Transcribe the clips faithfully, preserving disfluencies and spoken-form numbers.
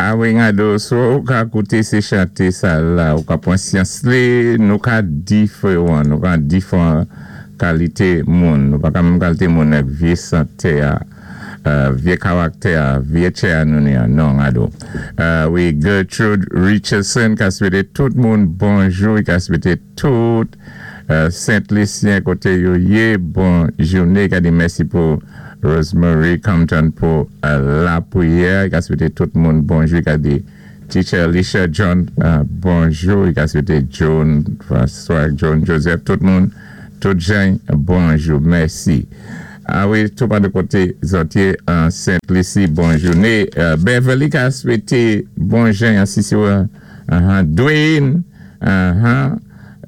A wi, gado, so ou ka kouté sé chanté sa la, ou ka pwan syans li, nou ka diféwan, nou ka diféwan kalité moun, nou pa ka menm kalité moun ak vyé santé a, euh, vyé karaktè a, vyé tchè a nou ni a, non, gado. Euh, wi, Gertrude Richardson ka swété tout moun bonjou, ka swété tout euh, Sent-Lisyen koté yo yé, bon jouné, ka di mèsi pou Rosemary Compton pou euh, lapriyè, ka swété tout moun bonjou, ka di Teacher Alicia John, euh, bonjou, ka swété John, François, John Joseph, tout moun, tout jan, bonjou, mèsi. A wi, tou pa de koté zòt yé an Sent-Lisi, bon jouné. Euh, Beverly ka swété bon jan, si sé uh, Dwayne, uh,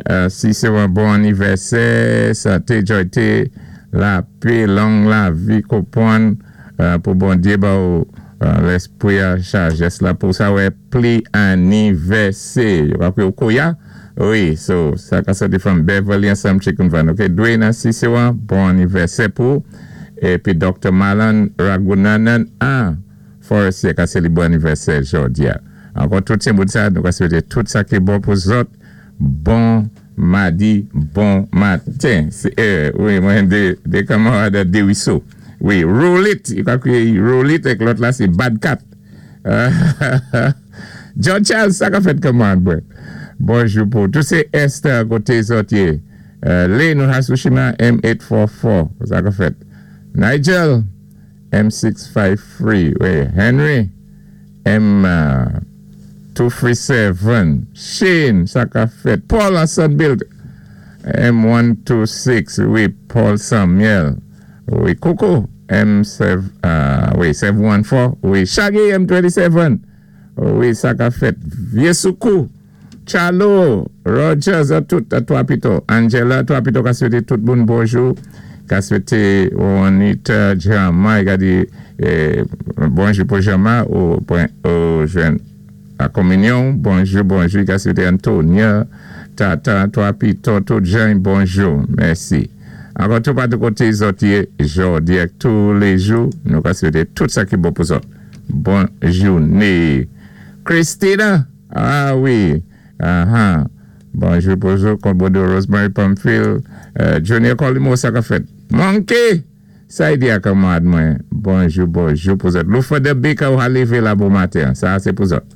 uh, si sé yon bon anivèsè, santé, jwayté, lapè, long lavi, konpwann, euh, pou Bondyé ba ou euh, lèspwi a sajès la pou sa wè pli anivèsè. Yo ka kwé ou koya? Wi, so, sa ka soti from Beverly ansanm Chicken Van. Ok, Dwayne, si sé yon bon anivèsè pou, épi Doctor Malan Ragunanan, an, Forestier ka sé li bon anivèsè jòdi a. Ankò tout sé moun sa, nou ka swété tout sa ki bon pou zòt, bon madi, bon maten. Sé, euh, wi, mwen dé, dé kanmarad de Wiso. Wi, roll it, yo ka kwé roll it ek lòt la sé bad cat. John Charles, sa ka fèt kanmarad mwen. Bonjou pou. Tout sé Esther koté zòt yé. Euh, Lé nou Hasushima M eight four four. Sa ka fèt. Nigel M six five three. Wi, Henry M two three seven. Shane, sa ka fèt. Paul an Sunbuild M one two six. Wi, Paul Samuel. Wi, Coco M seven, uh, wi, seven one four. Wi, Shaggy M twenty-seven. Wi, sa ka fèt. Viesoukou. Chalo, Rogers, a tout, a twa pito. Angela, twa pito ka swété tout moun bonjou. Ka swété Juanita Jama, ka di eh, bonjou pou Jama ou, ou jwenn la kominyon. Bonjou, bonjou, ka swété Antonia, Tata, twa pito, tout jan, bonjou. Mèsi. Ankò tou pa de koté zòt yé, jòdi ak tou lé jou, nou ka swété tout sa ki bon pou zòt. Bon jouné. Christina, ah wi, ah bonjou, bonjou, Konbodo Rosemary Pamphile, euh, Junior Colimo, sa ka fèt. Monkey, sa y di a kanmarad mwen, bonjou, bonjou pou zòt. Loufa de Baker ou a lévé la bon maten, sa sé pou zòt.